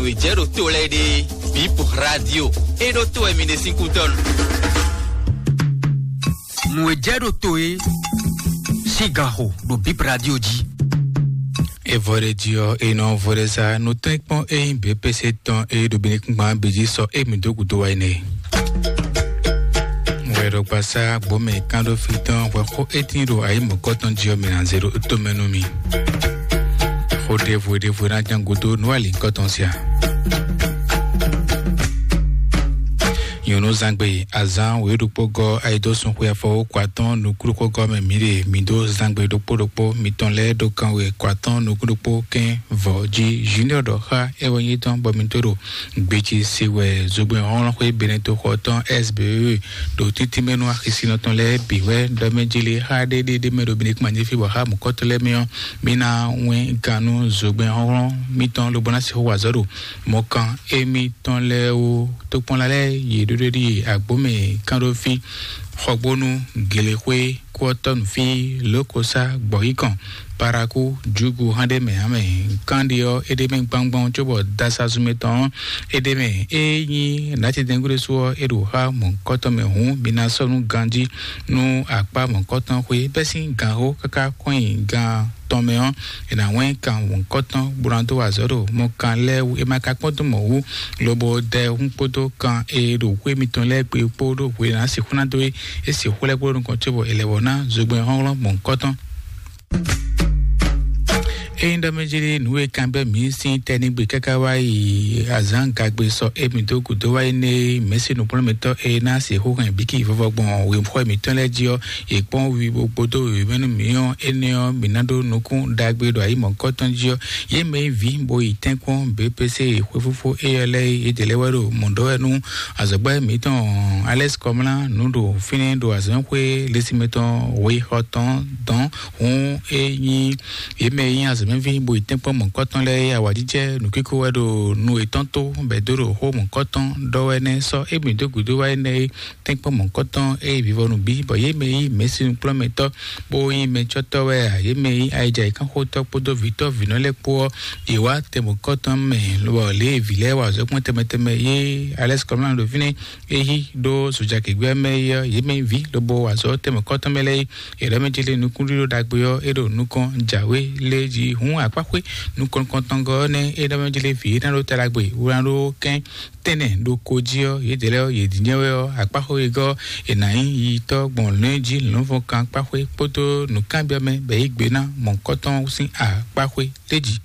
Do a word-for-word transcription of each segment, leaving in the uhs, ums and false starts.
Nǔ e jɛ ɖo to lɛ́ɛ ɖe, Bip Radio. E ɖo to wɛ mi ɖe sín kútɔ́nu. Nǔ e jɛ ɖo to e sín gan xo ɖo Bip Radio jí. Evɔ ɖe jí ɔ́, e nɔ vɔ ɖe sa nutɛ́nkpɔ́n e nyí B P C tɔn e ɖo Benekúngban bǐ jí sɔ e mǐ dó gǔdo wá yi nɛ. Wɛ ɖo gbasá gbɔmɛ kán ɖó fí tɔn hwɛ xó e tín ɖo ayǐ mɔ̌kɔtɔn jí ɔ́, mǐ ná zé ɖo tomɛ nú mi. Xó ɖěvo ɖěvo ná ján gúdo nú alǐkɔtɔn sia. Nyɔ̌nu zangbe azán wǒ ɖokpó gɔ́ ayidósun xwe afɔwókɔ atɔ́ɔ́n nukúnɖókpó gɔ́ mɛ mǐ ɖe mǐ dó zangbe ɖokpó ɖokpó mitɔn lɛ́ɛ ɖó kanwe kɔ atɔ́ɔ́n nukúnɖókpó kɛ́n vɔ̌ jí. Junior ɖɔ xá é wɛ nyí tɔn bɔ mǐ tó ɖo gbeci se wɛ zogbɛ́n hlɔ́nhlɔ́n xwé Benɛto xɔ tɔn S B E ɖo títí mɛ nú axisínɔ tɔn lɛ́ɛ bǐ wɛ ɖɔ mɛ jí lé xá ɖé ɖé ɖé mɛ ɖo Benɛkúma jí fí bɔ xá mɔ̌kɔtɔn lɛ́ɛ mɛ ɔ́, mǐ ná wɛn gannú zogbɛ́n hlɔ́nhlɔ́n mitɔn lobo ná sixú wa azɔ̌ ɖo mɔkan émítɔn lɛ́ɛ wú. Tokpɔnla lɛ́ɛ yě ɖó ɖéɖíe agbǒmɛ kánɖófí, xɔgbónú, gelexwé, kúɔtɔ́núfí, lǒkosá, gbɔ̌yíkɔn, parakú, jǔgu hán ɖé mɛ ǎ mɛ. Kánɖi ɔ́, é ɖ'é mɛ gbangban cóbɔ dasazun mɛtɔn ɔ́, é ɖ'é mɛ. É nyí nǎtidɛngúɖésú ɔ́, é ɖo xá mɔ̌hunkɔtɔn mɛ hǔn, mi ná sɔ́ nú ganjí nú akpá mɔ̌hunkɔtɔn xwé bɛ́ sín ganxó káká kɔn nyi gan tɔn mɛ ɔ́, è nǎ wɛ́n kan wɔ̌nkɔ́tɔn bó ná dó wa azɔ̌ ɖo mɔkan lɛ́ɛ wú. È ma ka kpɔ́n dó mɔ̌ wú, lobo dɛ hún kpódó kan e ɖo xwé mitɔn lɛ́ɛ gbe kpó ɖó hwe ná sixú ná dó é. É sixú lɛ́ kpó ɖo nukɔn có bɔ è lɛ̌ wɔ ná zogbɛ́n hlɔ́nhlɔ́n mɔ̌hunkɔ́tɔn. Ényí ɖɔ mɛ jí nǔ e kanbyɔ́ mǐ sín tɛ́ ní gbe káká wá yi azǎn gagbe sɔ émí dó gǔdo wá yi nɛ mɛ̌si nǔkplɔ́nmɛtɔ́ e ná sixú hɛn bíkí vɔvɔ gbɔn wěxɔ mǐtɔn lɛ́ɛ jí ɔ́, yě kpɔ́n wi bó kpódó wěwé nú mǐ ɔ́, énɛ́ ɔ́, mǐ ná ɖó nukún ɖagbe ɖo ayǐ mɔ̌kɔ́tɔn jí ɔ́. Yě mɛ e ví bo yi tɛ́nkpɔ́n B P C xwéfúfú éyɛ́ lɛ́ɛ é, yědɛɛ lɛ́ɛ wɛ ɖo mɔ̌ ɖɔ wɛ nú azɔ̌gbɛ́ mǐtɔn Alɛ́si Kɔmlá nǔ ɖo fínɛ́ ɖo azɔ̌xwé lěsinmɛ tɔn weyixɔ tɔn dɔn. Hǔn é nyí yě mɛ e nyí azɔ̌mɛví bo yi tɛ́nkpɔ́n mɔ̌kɔ́tɔn lɛ́ɛ é, awǎjijɛ nǔkíkó wɛ ɖo nu yětɔn tó bɔ è dó ɖo xó mɔ̌kɔ́tɔn ɖɔ wɛ nɛ́ sɔ́ émí dó gǔdo wá énɛ́ é. Tɛ́nkpɔ́n mɔ̌kɔ́tɔn e nyí vivɔnu bí, bɔ yě mɛ e nyí mɛ̌sinukplɔ́nmɛtɔ́ bó nyí mɛcɔ́tɔ́ wɛ ǎ, yě mɛ e nyí ayijayǐkanxotɔ́ kpódó vǐtɔ́ vǐnɔ lɛ́ɛ kpó ɔ́, yě wá tɛn mɔ̌kɔ́tɔn mɛ, lobɔ lě e vǐ lɛ́ɛ wa azɔ̌ kpɔ́n tɛnmɛ tɛnmɛ yé Alɛ́si Kɔmlá ɖo fínɛ́, é yí ɖó Zojakigbé mɛ é ɔ́, yě mɛ e nyí vǐ lobo wa azɔ̌ tɛn mɔ̌kɔ́tɔn mɛ lɛ́ɛ é. È ɖɔ mɛ ce lé nukúnɖíɖó ɖagbe ɔ́, é ɖo nukɔn jǎwe lé jí. Hǔn akpáxwé nukɔn nukɔntɔngɔ́ ɔ́ nɛ́ é ɖɔ mɛ ce lé vǐ é ná ɖó ta ɖagbe wó ná ɖó kɛ́n tɛ́nnɛ ɖo ko jí ɔ́, yědɛɛ lɛ́ɛ ɔ́, yě dínjɛ́n wɛ ɔ́, akpáxó e gɔ́ è nǎ nyí yitɔ́ gbɔn lɔ̌nyijǐ lɔ̌nfɔ́nkan akpáxwé kpódó nǔkanbyɔ́mɛ bɔ é yí gbe ná mɔ̌hunkɔtɔn sín akpáxwé d'é jí.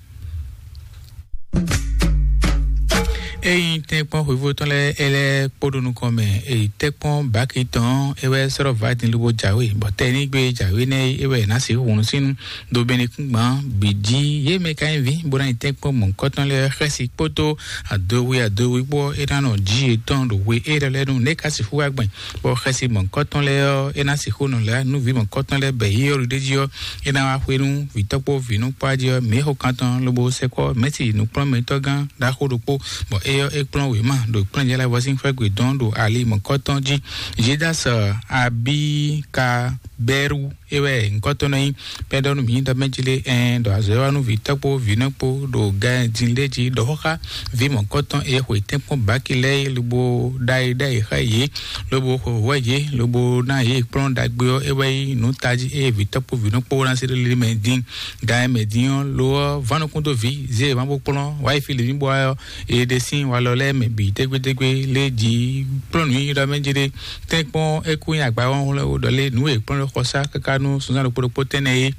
Ényí tɛ́nkpɔ́n xweyívú tɔn lɛ́ɛ é lɛ́ kpó ɖo nukɔn mɛ, èyí tɛ́nkpɔ́n bǎki tɔn é wɛ sɔ́ ɖɔ vǎ din lobo jǎwe, bɔ tɛ́ ní gbé jǎwe nɛ́ é wɛ è nǎ sixú hun sín ɖo Benɛkúngban bǐ jí. Yě mɛ ka nyí vǐ bó ná nyí tɛ́nkpɔ́n mɔ̌hunkɔtɔn lɛ́ɛ xɛ́si kpódó adowi adowi kpó ɔ́, é ná nɔ jí yětɔn ɖo hwe élɔ́ lɛ́ɛ nu. Nɛ̌ ka sixú wá gbɛn bɔ xɛsi mɔ̌hunkɔtɔn lɛ́ɛ ɔ́, é ná sixú nɔ lɛ̌ nú vǐ mɔ̌hunkɔtɔn lɛ́ɛ bɔ yě ɔ́ ɖo ɖ'é jí ɔ́, é ná wá xwe nú vǐtɔ́ kpó vǐnukpɔ́ jí ɔ́? Mǐ xo kan tɔn lobo sɛkpɔ́ mɛ̌si nǔkplɔ́nmɛtɔ́gán ɖaxó ɖokpó, bɔ é ɔ́, é kplɔ́n wěma ɖo kplɔ́njɛ́lɛ́vɔ́ sín xwé gbe dɔn ɖo ali mɔ̌hunkɔtɔn jí. Jidas Abikabɛ́ru é wɛ nyǐkɔ tɔn nɔ nyí. Pɛ́dɔ́ nú mǐ ɖɔ mɛ jí lé ɛn ɖɔ azɔ̌ wa nú vǐtɔ́ kpó vǐnɔ kpó ɖo gǎn din lé jí ɖɔ xó xá vǐ mɔ̌kɔtɔn e xwe tɛ́nkpɔ́n bǎki lɛ́ɛ é, lobo ɖ'ayǐ ɖ'ayǐ xá yě, lobo xwe hǔhú yě, lobo ná yě kplɔ́n ɖagbe ɔ́, é wɛ nyí nǔ tají eye vǐtɔ́ kpó vǐnɔ kpó ná se ɖó lili mɛ dín. Gǎn e mɛ dín ɔ́, lo ɔ́, vǎ nukún dó vǐ, zé e má bó kplɔ́n wǎ yi fí lě ní bó wá ɔ́, yě ɖe sín walɔ lɛ́ɛ mɛ bǐ dégbédégbé lé jí kplɔ́n nǔ nyi ɖɔ mɛ jí ɖé. Tɛ́nkpɔ́n é kú nyi agba wɔ́nhlɔ́n ɖɔ lé nǔ e kplɔ́n lɛ́ xɔ sá káká nú sunzán ɖokpó ɖokpó tɛ́nnɛ é.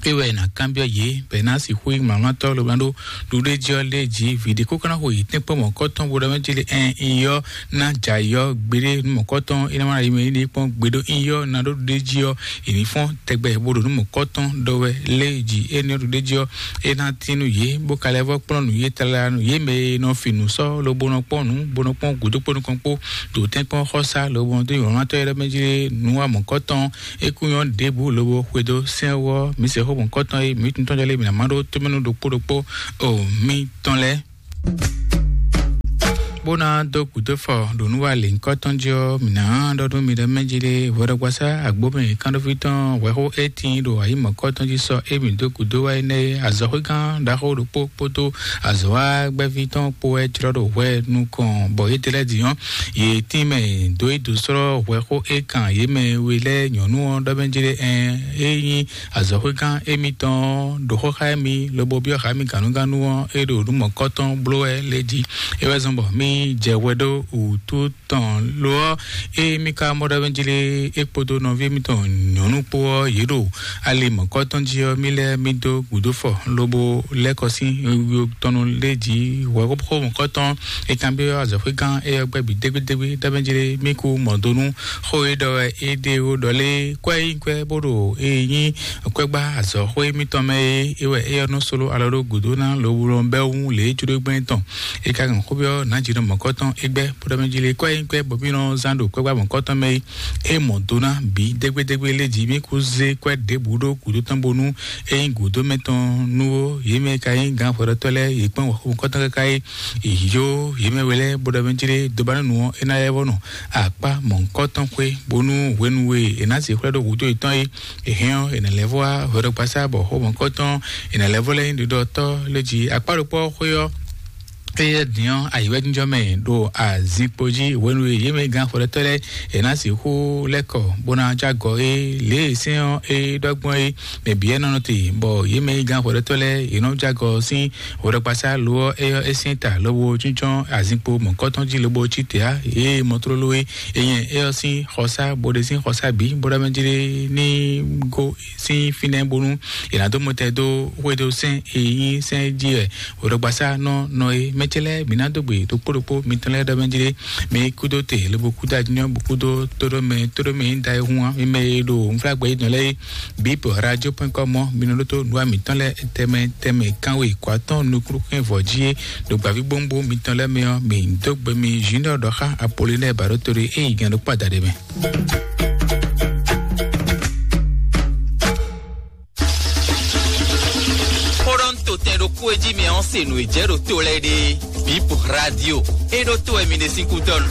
É wɛ è nǎ kanbyɔ́ yě bɔ è nǎ sixú nyí mlɔ́mlɔ́tɔ́ lobo ná ɖó ɖuɖéjí ɔ́ lé jí vǐ ɖé kókó ná xo yě tɛ́nkpɔ́n mɔ̌kɔ́tɔn bó ɖɔ mɛ jí lé ɛn iyɔ́ ná jɛ ayǐ ɔ́ gbeɖé nú mɔ̌kɔ́tɔn é ná wá yi mɛ ní kpɔ́n gbeɖó iyɔ́ ná ɖó ɖuɖéjí ɔ́, è ní fɔ́n tɛgbɛ bó ɖo nú mɔ̌kɔ́tɔn ɖɔ wɛ lé jí énɛ́ ɖuɖéjí ɔ́, é ná tín nú yě bó ka lɛ́ vɔ́ kplɔ́n nǔ yě tlala nú yě mɛ e nɔ fin nǔ sɔ́ lobo nɔ kpɔ́n nǔ bó nɔ kpɔ́n gǔdo kpó nukɔn kpó ɖo tɛ́nkpɔ́n xɔ́sá lobo nɔ dó nyɔ̌mlɔ́tɔ́ é ɖɔ mɛ jí lé nú wá mɔ̌kɔ́tɔn é kú nyɔ́ ɖěbǔ lobo xwedó sɛ́n wú ɔ́, mǐ se xó mɔ̌kɔ́tɔn e mǐ tuntɔ́n jɔ lé mǐ ná má ɖó tómɛnú ɖokpó ɖokpó o mǐtɔn lɛ́ɛ. Bó ná dó gǔdo fɔ ɖo nǔ wa lǐnkɔ́ tɔn jí ɔ́, mǐ ná ɖɔ nú mi ɖɔ mɛ jí ɖé hwɛɖɔgbasá agbómɛ kánɖóví tɔn hwɛxó étín ɖo ayǐ mɔ̌kɔ́ tɔn jí sɔ émí dó gǔdo wá énɛ́ azɔ̌xwégán ɖaxó ɖokpó kpódó azɔ̌ wa gbɛ́ví tɔn kpó wɛ jlɔ́ ɖo hwɛ nukɔn, bɔ yě dlɛ́ din ɔ́, yě tín mɛ dó yi dǒ slɔ́ hwɛxó é kan yě mɛ we lɛ́ɛ nyɔ̌nu ɔ́ ɖɔ mɛ jí ɖé ɛn é nyí azɔ̌xwégán émítɔn ɔ́ ɖo xó xá émí lobo byɔ́ xá mì gǎnugǎnu ɔ́, é ɖo nǔ mɔ̌kɔ́tɔn bló wɛ lé jí. É wɛ zɔ́n bɔ mí jɛ hwɛ ɖó wǔtu tɔn lo ɔ́, é mí ka mɔ ɖɔ mɛ jí lé é kpódó nɔví émítɔn nyɔ̌nu kpó ɔ́, yě ɖo ali mɔ̌kɔ́tɔn jí ɔ́, mí lɛ́ mí dó gǔdo fɔ lobo lɛ́ kɔ sín tɔnu lé jí hwɛ̌xó mɔ̌kɔ́tɔn. É kanbyɔ́ azɔ̌xwégán éyɔ́ gbɛ́ bǐ dégbédégbé ɖɔ mɛ jí lé mí kú mɔ̌ dó nú xó e ɖɔ wɛ é ɖe ó ɖɔ lé kwɛ́ nyí kwɛ́ bó ɖo é nyí kwɛ́gbá azɔ̌xwé mítɔn mɛ é, é wɛ éyɔ́ nɔ sló alɔ ɖó gǔdo ná lowlɔ bɛ́ wú lě jló gbɛ́ tɔn. É ka hɛn xó byɔ́ nǎ jǐ nɔ mɔ̌kɔ́tɔn é gbɛ́ bó ɖɔ mɛ jí lé kwɛ́ nyí kwɛ́ bɔ mí nɔ zán ɖo kwɛ́gbá mɔ̌kɔ́tɔn mɛ é. É mɔ do ná bǐ dégbédégbé lé jí mí kú zé kwɛ́ ɖěbǔ ɖó gǔdo tɔn bónú é nyí gǔdo mɛ tɔn nú ó. Yě mɛ ka nyí gǎn hwɛɖɔtɔ́ lɛ́ɛ yě kpɔ́n mɔ̌kɔ́tɔn káká é. Yǒ yě mɛ we lɛ́ɛ bó ɖɔ mɛ jí lé dobanúnu ɔ́ é ná lɛ́ vɔ́ nɔ akpá mɔ̌hunkɔtɔn xwé, bónú hwenu e è nǎ sixú lɛ́ ɖó hǔdó yětɔn é, è hɛn ɔ́, è nǎ lɛ́ vɔ́ wá hwɛɖɔgbasá bɔ xó mɔ̌hunkɔtɔn è nǎ lɛ́ vɔ́ lɛ́ nyí ɖiɖɔtɔ́ lé jí. Akpá ɖokpó ɔ́ xwé ɔ́, éyɛ́ din ɔ́, ayǐwɛ́jínjɔ́n mɛ ɖo azinkpo jí hwenu e yě mɛ gán xwɛɖɔtɔ́ lɛ́ɛ è nǎ sixú lɛ́ kɔ bó ná jagɔ é, lě e sɛ́n ɔ́ é ɖɔ gbɔn é, mɛ bǐ wɛ nɔ nɔ te, bɔ yě mɛ yi gán xwɛɖɔtɔ́ lɛ́ɛ è nɔ jagɔ sín hwɛɖɔgbasá lo ɔ́, é ɔ́ é syɛ́n ta lobo jínjɔ́n azinkpo mɔ̌kɔ́tɔn jí lobo cí te ǎ. Yě mɔ tlóló é, é nyɛ é ɔ́ sín xɔsá bó ɖe sín xɔsá bǐ bó ɖɔ mɛ jí ní gó sín fínɛ́ bónú è nǎ dó mɔtɛn dó xwedó sɛ́n e nyí sɛ́n jí wɛ hwɛɖɔgbasá nɔ nɔ é. Mɛ ce lɛ́ɛ mǐ ná dó gbe ɖokpó ɖokpó mitɔn lɛ́ɛ ɖɔ mɛ jí mi kúdó te lobo kúdó ajínyɔ bó kúdó tóɖó mɛ tóɖó mɛ nyí da e hun ǎ. Mi mɛ e ɖo nflágbɛ yi dɔn lɛ́ɛ é, bip radio point com ɔ́, mi nɔ ɖótó nǔwa mǐtɔn lɛ́ɛ tɛmɛ tɛmɛ kánwe kɔ atɔ́ nukúnukún vɔ jí é ɖo gbǎví gbóngbó mitɔn lɛ́ɛ mɛ ɔ́, mǐ dó gbe mi Junior ɖɔ xá Apollinaire Baɖótoli é yi gǎn ɖokpó adaɖé mɛ. Xó ɖɔ un to tɛn ɖokpó e jí mɛ ɔ́ se nǔ e jɛ ɖo to lɛ́ɛ ɖe. Bip radio é ɖó to wɛ mi ɖe sín kútɔ́ nu.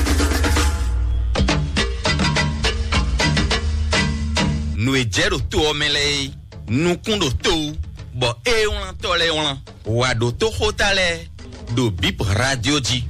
Nǔ e jɛ ɖo to ɔ́ mɛ lɛ́ɛ é, nukún ɖo to wú, bɔ é wlán tɔ́ lɛ́ɛ wlán. Wǎ ɖótó xóta lɛ́ɛ ɖo Bip radio jí.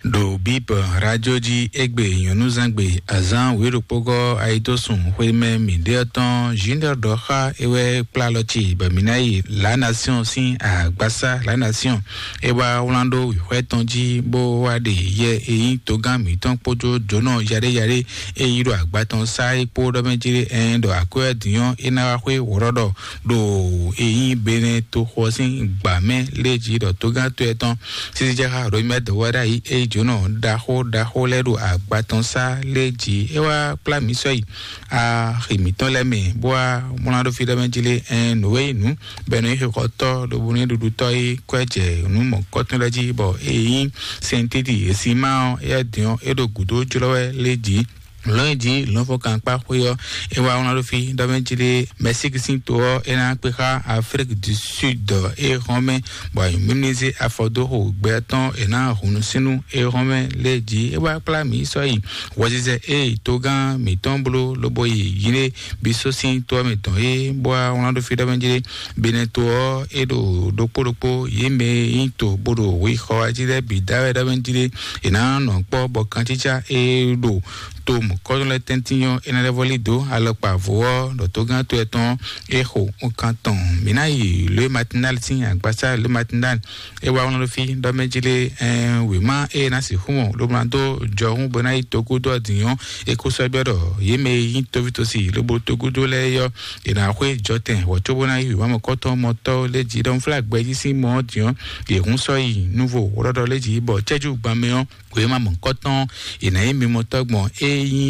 Ɖo Bip radio jí égbé nyɔ̌nuzangbe azán wěɖokpógɔ́ ayidósùn xwémɛ mǐɖéɔ tɔn Junior ɖɔ xá é wɛ kplá alɔ ce bɔ mǐ ná yi La Nation sín agbasá La Nation. É wá wlán ɖó wǐxwɛ́ tɔn jí bó wá ɖe yɛ e nyí togán mǐtɔn kpódó jǒnɔ yaɖéyaɖé e yí ɖo agba tɔn sá é kpó ɖɔ mɛ jí ɛn ɖɔ akwɛ́ din ɔ́ é ná wá xwé wǒɖɔɖɔ ɖo e nyí Benɛ toxo ɔ́ sín gbǎ mɛ lé jí ɖɔ togán to ɛtɔn sísí jɛ xá Romɛ dɔwɛɖá yi é jǒnɔ ɖaxó ɖaxó lɛ́ɛ ɖo agba tɔn sá lé jí é wá kplá mǐ sɔ́ yi axi mǐtɔn lɛ́ɛ mɛ bó wá mlá ɖó fí ɖɔ mɛ jí lé ɛn nǔ e nyí nǔ bɔ è nɔ nyí xixɔtɔ́ ɖo bónú é ɖuɖutɔ́ é kwɛ́ jɛ nǔ mɔ̌kɔ́tɔn lɛ́ɛ jí bɔ é nyí sɛntíti e sin má ɔ́ éyɛ́ din ɔ́ é ɖo gǔdo jlɔ́ wɛ lé jí. Lɔ̌nyijǐ lɔ̌nfɔ́nkankpá xwé ɔ́ é wá wlán ɖó fí ɖɔ mɛ jí lé Mɛsíki sín to ɔ́ é ná kpé xá Aflíki du Sud é hɔn mɛ bɔ ayǐmúmízé afɔ dó xo gbɛ tɔn è nǎ hun nú sínú é hɔn mɛ lé jí é wá kplá mǐ sɔ́ yi hwɛzizɛ é togán mǐtɔn bló lobo yi yílé bí só sín to ɔ́ mɛ tɔn é bó wá wlán ɖó fí ɖɔ mɛ jí lé Benɛ to ɔ́ é ɖo ɖokpó ɖokpó yě mɛ e nyí to bó ɖo hwixɔ jí lɛ́ɛ bǐ dá wɛ ɖɔ mɛ jí lé è nǎ nɔ kpɔ́ bɔ kancícá e ɖo to mɔ̌kɔ́tɔn lɛ́ɛ tɛ́ntin ɔ́ é ná lɛ́ vɔ́ lí dǒ alɔkpa vo ɔ́ ɖɔ togán to ɛtɔn é xo nkan tɔn. Mǐ ná yi Louis Matinal sín agbasá Louis Matinal é wá wlán ɖó fí ɖɔ mɛ jí lé ɛn wěma é ná sixú mɔ lobo ná dó jɔhún bó ná yi togúdo ɔ́ din ɔ́ é kó sɔ́ byɔ́ ɖɔ yě mɛ e nyí tóvítósi lobo togúdo lɛ́ɛ é ɔ́ è nǎ xwé jɔtɛn wɔ cóbó ná yí wěma mɔ̌kɔ́tɔn mɔtɔ́ lé jí ɖɔ un flá gbɛjí sín mɔ ɔ́ din ɔ́ yě hún sɔ́ yi núvo wlɔ́ɖɔ lé jí bɔ cɛ́jú gban mɛ ɔ́ wěma mɔ̌kɔ́tɔn è nǎ nyí mimɔtɔ́ gbɔn é nyí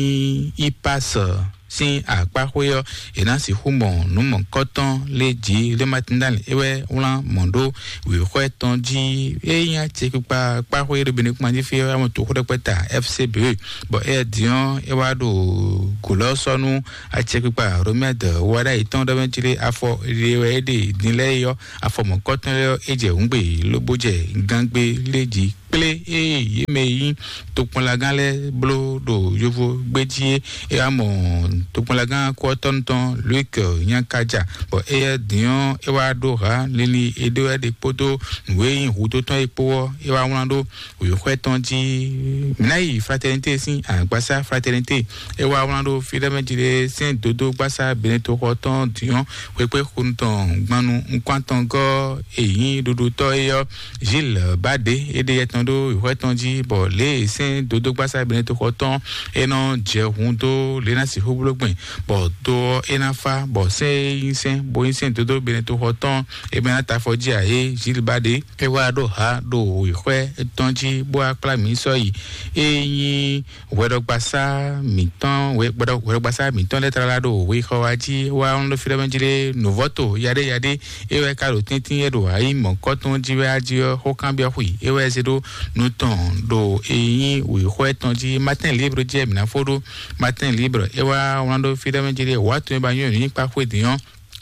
Ipas sín akpáxwé ɔ́ è nǎ sixú mɔ nǔ mɔ̌kɔ́tɔn lé jí lé Matinal é wɛ wlán mɔ̌ ɖó wěxwɛ́ tɔn jí é nyí acɛkpikpa kpáxwé ɖo Benin kpán jí fí ɔ́ amɔ toxó ɖɛkpɛ ta F C B bɔ é din ɔ́ é wá ɖo gǔlɔ́ sɔ́ nú acɛkpikpa Romɛd wá ɖ'ayǐ tɔn ɖɔ mɛ jí lé afɔ ɖe wɛ é ɖe din lɛ́ɛ é ɔ́ afɔ mɔ̌kɔ́tɔn lɛ́ɛ ɔ́ é jɛ hǔngbe lobo jɛ gangbe lé jí kplé ée yě mɛ e nyí tokpɔnlagán lɛ́ɛ bló ɖo yovo gbé jí é. É wá mɔ tokpɔnlagán kúɔtɔ́nu tɔn Luke Nyakaja, bɔ éyɛ́ din ɔ́, é wá ɖó hǎ linlin e ɖó wɛ ɖe kpódó nǔ e nyí hudó tɔn é kpó ɔ́, é wá wlán ɖó wěxwɛ́ tɔn jí. Mǐ ná yi Fraternité sín agbasá Fraternité. É wá wlán ɖó fí ɖé mɛ jí ɖé sɛ́n dodó gbasá Benetoxɔ tɔn din ɔ́, xwekpé xonu tɔn gbanu nukɔn tɔn gɔ́ e nyí ɖuɖutɔ́ é ɔ́, Gilles Bade é ɖe yɛ tɔn ɖó wěxwɛ́ tɔn jí, bɔ lě e sɛ́n dodó gbasá Benetoxɔ tɔn é nɔ jɛ hun dó lě ná sixú bló gbɛn, bɔ do ɔ́ é ná fá, bɔ sɛ́n e nyí sɛ́n bo nyí sɛ́n dodó Benetoxɔ tɔn é mɛ ná ta afɔ jí ǎ é. Gilles Bade é wá ɖó ha ɖo wěxwɛ́ tɔn jí bó wá kplá mǐ sɔ́ yi. É nyí hwɛɖɔgbasá mǐtɔn hwɛɖɔgbasá mǐtɔn lɛ́ɛ tlala ɖo wexɔ wa jí wá ɔ́ ɖo fí ɖɔmɛ jí lé nǔvɔ́to yaɖé yaɖé. É wɛ ka ɖo tɛ́ntin é ɖo ayi mɔ̌kɔtɔn jí wɛ ají ɔ́ xó kanbyɔ́ xwi é wɛ zé ɖó nu tɔn ɖo e nyí wěxɔ tɔn jí. Matin libre jí mǐ ná fó ɖó. Matin libre é wá wlán ɖó fí ɖɔmɛ jí lé wǎ tun é ba nyɔ́ nǔ nyí kpa xwé din ɔ́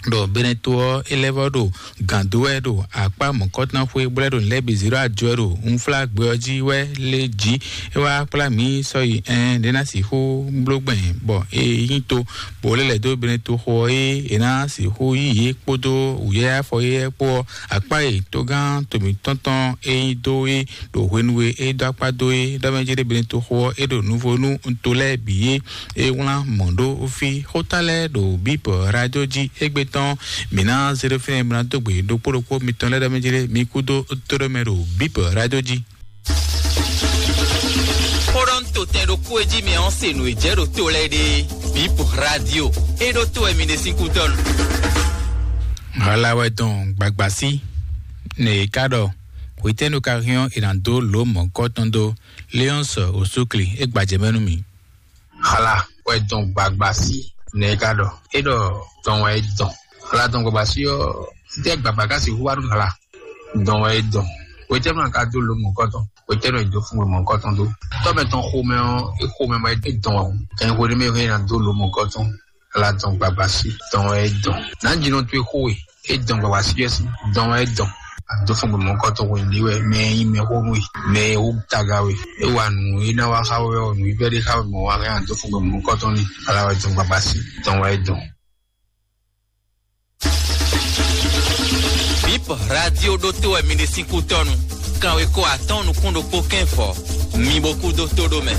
ɖo Beneto ɔ́, é lɛ́ vɔ́ ɖo gǎn dó wɛ ɖo akpá mɔ̌kɔtɔn xwé bó lɛ́ ɖo nǔ lɛ́ɛ bǐ zé ɖó ajɔ wɛ ɖo unflágbɛ ɔ́ jí wɛ lé jí. É wá kplá mǐ sɔ́ yi ɛn ɖé ná sixú bló gbɛn bɔ é nyí to, bó lɛ́ lɛ̌ dó Beneto xo ɔ́ é è ná sixú yí yě kpódó wǔyɛ́yá afɔ yɛ́yɛ́ kpó ɔ́. Akpá e togán to mǐtɔn tɔn é nyí dó é ɖo hwenu e é dó akpá dó é ɖɔ mɛ jí ɖé Beneto xo ɔ́ é ɖo nuvo nú to lɛ́ɛ bǐ é. É wlán mɔ̌ ɖó fí xóta lɛ́ɛ ɖo bíbɔ radio jí égbé tɔn. Mǐ ná zé ɖó fínɛ́ mǐ ná dó gbe ɖokpó ɖokpó mitɔn lɛ́ɛ ɖɔ mɛ jí lé mi kú dó tóɖó mɛ ɖo bíbɔ radio jí. Xóɖɔ́ntotɛn ɖokpó e jí mɛ ɔ́ se nǔ e jɛ ɖo to lɛ́ɛ ɖe. Bíbɔ radio é ɖó tó wɛ mi ɖe sín kú dɔn. Hala wɛ dɔn gbagbasi ne e ka ɖɔ hwetɛ́nu ka hɛn ɔ́ è nǎ dó lǒ mɔ̌kɔtɔn dó. Léɔ́nsɔ osúkli é gbajɛ mɛ nú mì. Xala wɛ dɔn gbagba sí nɛ̌ ká ɖɔ é ɖɔ dɔn wɛ é dɔn. Xala dɔn gbagba sí ɔ́, títí gbagba ká sì hu wá nú xala dɔn wɛ é dɔn. Wetɛ́nu ká dó lo mɔ̌kɔtɔn, wetɛ́nu é dó fún wɛ mɔ̌kɔtɔn dó. Tɔ́mɛ tɔn xomɛ ɔ́, é xomɛ mɔ é dɔn wɛ hǔn. Kɛn xo ní mɛ é ná dó lo mɔ̌kɔtɔn. Xala dɔn gbagba sí dɔn wɛ é dɔn. Nǎ jinɔ towe xó we é dɔn gbagba sí ɔ́ sí dɔn wɛ é dɔn. Àdó fún gbọmọ kɔtɔ wɛ ní wɛ mɛ yín mɛ xó nú we mɛ wó taga we é wà nù é ná wá xá wɛ ɔ nù í bɛ ɖé xá wɛ mɔ wá hɛn àdó fún gbọmọ kɔtɔ ní ala wɛ dɔn gbagba sí dɔn wɛ é dɔn. Bip radio ɖótó wɛ mi ɖe sín kútɔnu. Kanwe ko atɔn nukún ɖokpó kɛn fɔ. Mi bo kú dó tó ɖó mɛ.